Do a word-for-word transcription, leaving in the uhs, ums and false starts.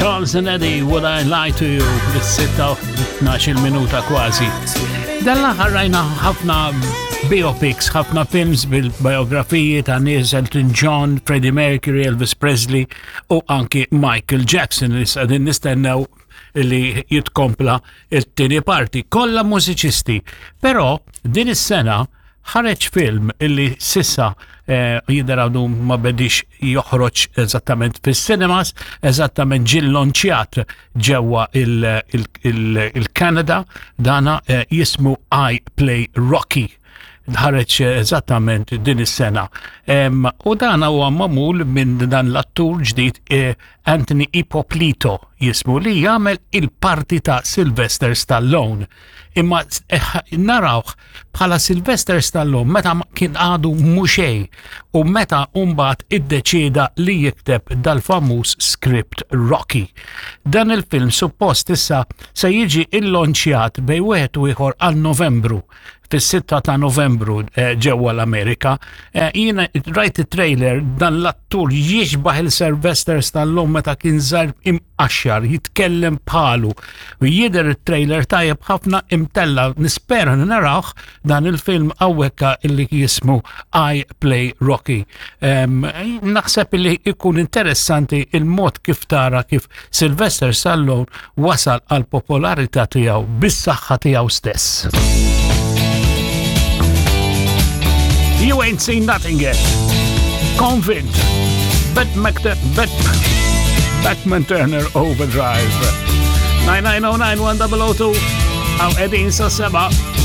Charles and Eddie, Would I Lie to You, bis-sitta u tnax-il minuta kważi. Dan l-aħħar rajna ħafna biopics, ħafna films bil-biografiji ta' nies Elton John, Freddie Mercury, Elvis Presley u anki Michael Jackson li qegħdin nistennew li jitkompla il-tieni parti. Kollha mużiċisti. Però din is-sena ħareġ film illi s'issa eh, jidher għadu ma bedix joħroġ eżattament fis-cinemas, eżattament ġie llonċjat ġewwa il-Kanada, dana eh, jismu I Play Rocky ħareġ eżattament din is-sena. U dan huwa magħmul minn dan l-attur ġdid eh, Anthony Ippolito jismu li jagħmel il-parti ta' Sylvester Stallone. Imma eh, narawh bħala Sylvester Stallone meta kien għadu muxej u meta mbagħad iddeċida li jikteb dal-famuż script Rocky. Dan il-film suppost issa se jiġi illonċjat bejn wieħed u ieħor għal Novembru fis-sitta ta' Novembru eh, ġewwa l-Amerika. Eh, jiena rajt it-trailer dan l-attur jixbaħ il-Sylvester Stallone meta kien żgħir imqaxxar, jitkellem bħalu. U jidher it-trailer tajjeb ħafna imtella nispera narawh dan il-film hawnhekk illi jismu I Play Rocky. Naħseb illi ikun interessanti il-mod kif tara kif Sylvester Stallone wasal għal popolarità tiegħu bis-saħħa tiegħu stess. You ain't seen nothing yet. Convict. Bet Bet Bachman Turner Overdrive. nine nine oh nine one oh oh two. Hawn qegħdin sa sebgħa.